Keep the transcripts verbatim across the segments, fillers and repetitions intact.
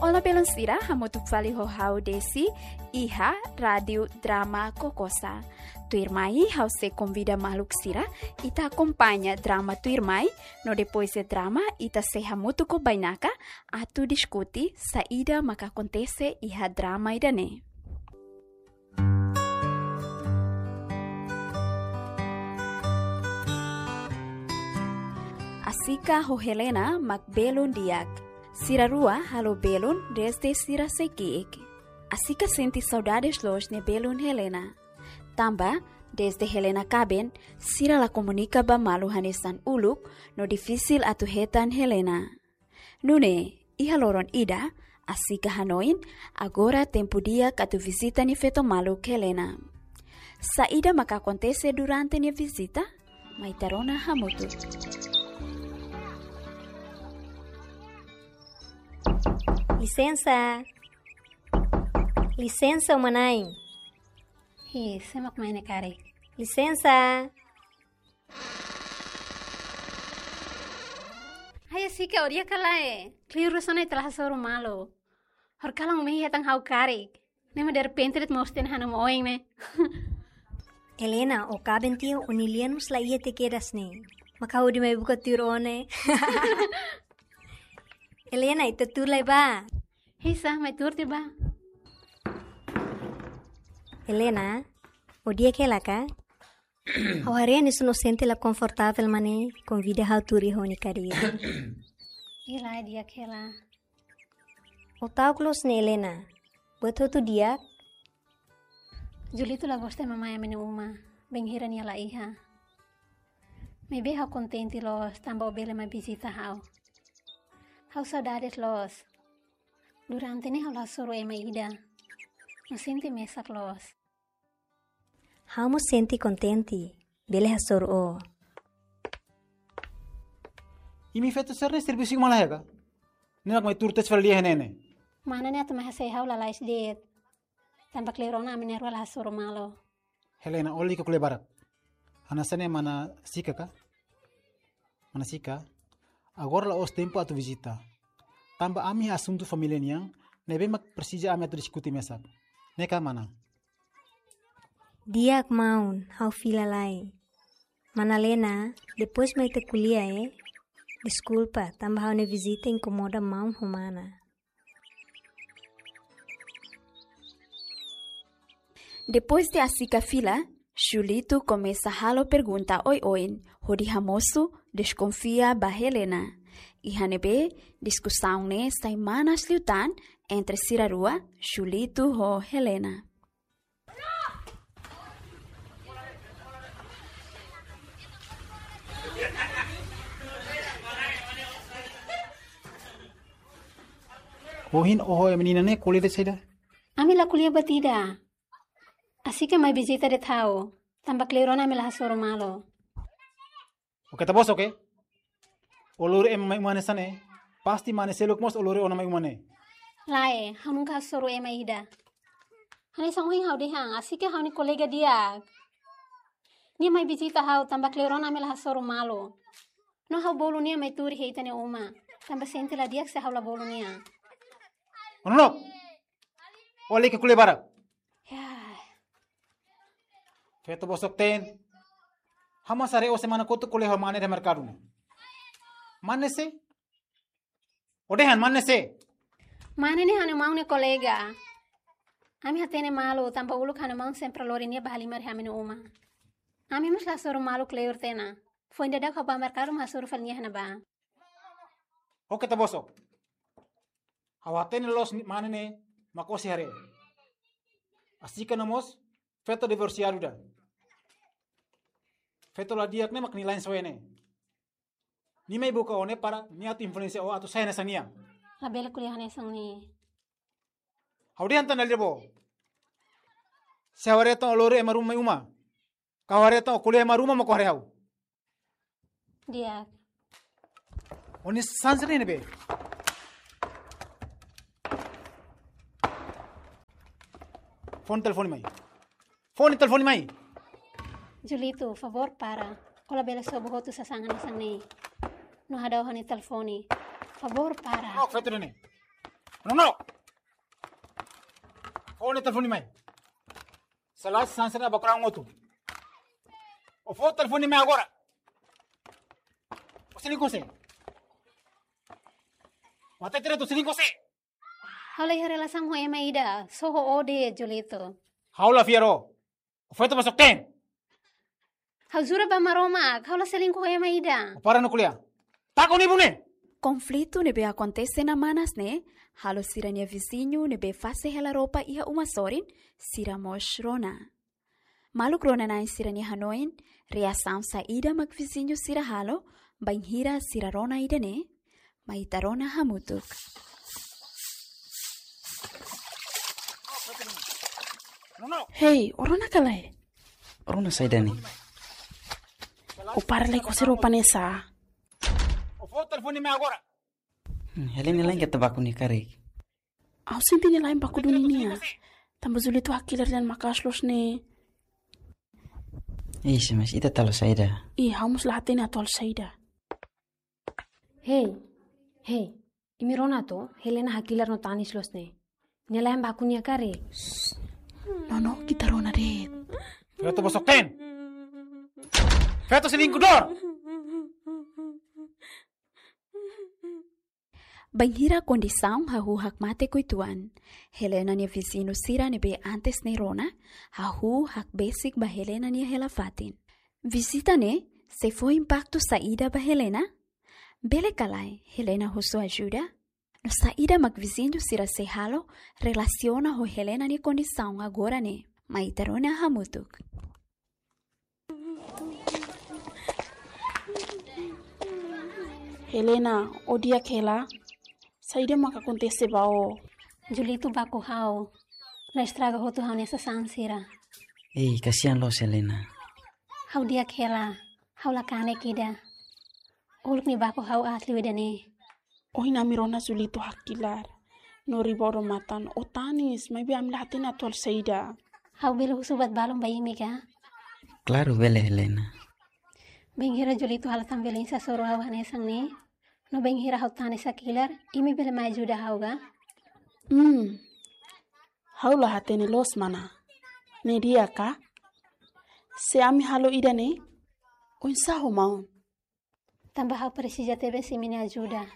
Olá, belun sira, hamutuk fali ho ha'u Desi, iha Rádiu Drama Kokosa. Tuirmai, ha'u sei konvida maluk sira, ita akompaña drama tuirmai, no depois de drama, ita sei hamutuk ho bainaka, atu diskute saida maka akontese iha drama ida-ne'e. Asika ho Helena mak belun di'ak. Sira rua halo belun desde sira sei ki'ik. Asika sente saudades loos nia belun Helena. Tanba, desde Helena kaben, sira la komunika ba malu hanesan uluk, no difisil atu hetan Helena. Nune'e, iha loron ida, Asika hanoin, agora tempu di'ak atu vizita nia feto maluk Helena. Saida maka akontese durante nia vizita? Mai ita rona hamutuk. Lisensa. Lisensa, uma-na'in. Hi, sé mak mai ne'e karik? Lisensa. Hai Asika, ó di'ak ka lae? Kleur rua sona ita la hasoru malu. Horikalan ó mai hetan ha'u karik. Ne'e mak derrepente de'it moos tiha ona ha'u-nia oin ne'e. Helena, ó kaben tiha ó-nia lian mós la iha tiha kedas ne'e. Maka hodi mai buka tuur ó ne'e. Helena, ita tuur lai bá. Hi sá, mai tuur tiha bá. Helena, ó di'ak hela ka? Ha'u haree hanesan ó sente la konfortavel mak ne'e, konvida ha'u tuur iha ó-nia kadeira. Hi lae, di'ak hela. Ó ta'uk loos ne'e Helena, buat hotu di'ak? Julito la gosta ema mai ami-nia uma, bainhira nia la iha. Maibé ha'u kontente loos, tanba ó bele mai vizita ha'u. Ha'u saudades loos. Durante ne'e ha'u la hasoru ema ida. No sente mesak loos. Ha'u mós sente kontente, bele hasoru ó. Imi feto sira-ne'e servisu iha uma lae ka? Ne'e mak mai tuur tesi fali lia iha ne'e ne'e. Mana ne'e atu mai hasai ha'u lalais de'it. Tanba kleur ona ami na'in-rua la hasoru malu. Helena, ó lalika ko'alia barak. Hanesan ne'e mana Sika ka? Mana Sika, agora la'ós tempu atu vizita. Tanba ami iha asuntu família nian, ne'ebé mak presiza ami atu diskute mesak. Ne'e ka mana? Di'ak maun, ha'u fila lai. Mana Helena, depois mai ita ko'alia, eh. Deskulpa, tanba ha'u-nia vizita inkomoda maun ho mana. Depois de Asika fila, Julito komesa halo pergunta oioin, hodi hamosu deskonfia ba Helena. Iha ne'ebé, diskusaun ne'e sai manas liután entre sira rua, Julito ho Helena. Ohin ó ho menina ne'e ko'alia de'it saida? Ami la ko'alia buat ida. Asika mai vizita de'it ha'u, tanba kleur ona ami la hasoru malu. Ó keta bosok, oke? Ó lori ema mai uma ne'e hanesan ne'e, pasti mane seluk mós ó lori ona mai uma ne'e. Lae, ha'u nunka hasoru ema ida. Hanesan ohin ha'u dehan, Asika ha'u-nia kolega di'ak. Nia mai vizita ha'u tanba kleur ona ami la hasoru malu. No ha'u bolu nia mai tuur iha ita-nia uma. Tanba sente la di'ak se ha'u la bolu nia. Ó nonook. Ó lalika ko'alia barak. Ya. Feto bosok-teen. Ha'u mós haree ó semana kotuk ko'alia ho mane iha merkadu ne'e. Mane sé? Ó dehan mane sé? Mane ne'e ha'u-nia maun nia kolega. Ami hatene malu, tanba uluk ha'u-nia maun sempre lori nia bá halimar iha ami-nia uma. Ami mós la hasoru malu kleur tiha ona. Foin daudauk ha'u bá merkadu mak hasoru fali nia iha ne'ebá. Ó keta bosok. Ha'u hatene loos ni-, mane ne'e mak ó sei haree. Asika no mós feto divorsiadu ida. Feto la di'ak ne'e mak nia la'en soe ne'e. Nia mai buka ó ne'e para nia atu influensia ó atu sai hanesan nia. Labele ko'alia hanesan ne'e. Ha'u dehan tan dala ida ba ó. Se ha'u haree tan ó lori ema ruma mai uma. Ka ha'u haree tan ó ko'alia ema ruma mak ó haree ha'u. Di'ak. Ó-nia sansar ne'e be. Fó nia telefone mai. Fó nia telefone mai. Julito, favór para. Ó labele sobu hotu sasán hanesan ne'e. No hadau ha'u-nia telefone. Favór para. Ó, feto ne'e. Não, não. Fó nia telefone mai. Salah sansana bakurang otu. Ó fó telefone mai agora. Ó selingkuh sé. Ó hatene direitu, ó selingkuh sé. Ha'u la iha relasaun ho ema ida, só ho ó de'it, Julito. Ha'u la fiar ó. Ó feto bosok-teen. Ha'u jura ba Maromak, ha'u la selingkuh ho ema ida. Ó para no ko'alia. Taka ó-nia ibun ne'e. Konflitu ne'ebé akontese iha manas ne'e, halo sira-nia viziñu ne'ebé fase hela roupa iha uma sorin, sira mós rona. Maluk rona-na'in sira-nia hanoin, reasaun saida mak viziñu sira halo, bainhira sira rona ida-ne'e, mai ita rona hamutuk. Hei, ó rona ka lae? Ó rona saida ne'e? Ó para lai kose roupa ne'e sá? Ó fó telefone mai agora. Hmm, Helena la'en keta baku nia karik. Ha'u sente nia la'en baku duni nia. Tanba Julito hakilar dehan maka'as loos ne'e. Ih, se mas ita talo saida? Ih, ha'u mós la hatene atu halo saida. Hei, hei, imi rona to, Helena hakilar no tanis loos ne'e. Nia la'en baku nia karik. Nono, ita rona de'it. Feto bosok-teen. Feto selingkuhadór. Bainhira kondisaun hahú hakmatek uitoan, Helena nia viziñu sira ne'ebé antes ne'e rona, hahú hakbesik ba Helena nia hela-fatin. Vizita ne'e sei fó impaktu saida ba Helena? Bele ka lae Helena husu ajuda? No saida mak viziñu sira sei halo relasiona ho Helena nia kondisaun agora ne'e? Mai ita rona hamutuk. Helena, ó di'ak hela? Saida mak akontese ba ó? Julito baku ha'u, no estraga hotu ha'u-nia sasán sira. Ei, kasihan loos Helena. Ha'u di'ak hela, ha'u la kanek ida. Uluk nia baku ha'u aat liu ida-ne'e. Ohin ami rona Julito hakilar. No riba odamatan, ó tanis, maibé ami la hatene atu halo saida. Ha'u bele husu buat balun ba imi ka? Klaru bele, Helena. Bainhira Julito halo tan violénsia hasoru ha'u hanesan ne'e, no bainhira ha'u tanis hakilar, imi bele mai ajuda ha'u ka? Hmm. Ha'u la hatene loos mana. Ne'e di'ak ka? Se ami halo ida-ne'e, oinsá ho maun? Tanba ha'u presiza tebes imi-nia ajuda.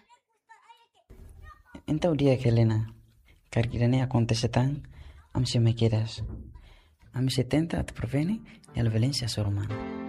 Entaun di'ak Helena, karik ida-ne'e akontese tan, ami sei mai kedas. Ami sei tenta atu prevene hela violénsia hasoru maun.